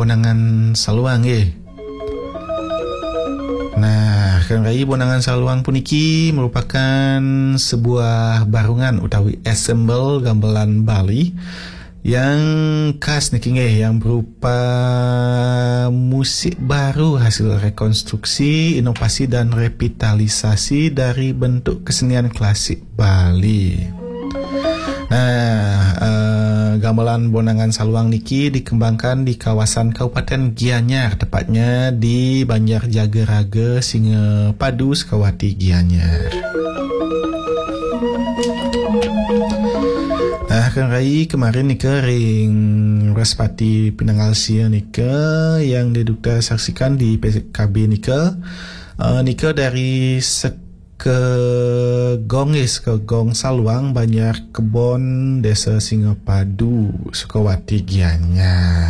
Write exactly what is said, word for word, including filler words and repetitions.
Bonangan Saluang, eh. Nah, Kang Rai, Bonangan Saluang puniki merupakan sebuah barongan utawi ensemble gamelan Bali yang khas niki nggih, yang berupa musik baru hasil rekonstruksi, inovasi dan revitalisasi dari bentuk kesenian klasik Bali. Nah, eh, gamelan Bonangan Saluang niki dikembangkan di kawasan Kabupaten Gianyar, tepatnya di Banjar Jagaraga, Singapadu, Sukawati, Gianyar. Nah, Kang Rai, kemarin nika ring Wrespati pinanggal sia nika yang didukta saksikan di P K B nika, eh, nika dari Sekegong, eh, Sekegong Saluang, Banjar Kebon, Desa Singapadu, Sukawati, Gianyar.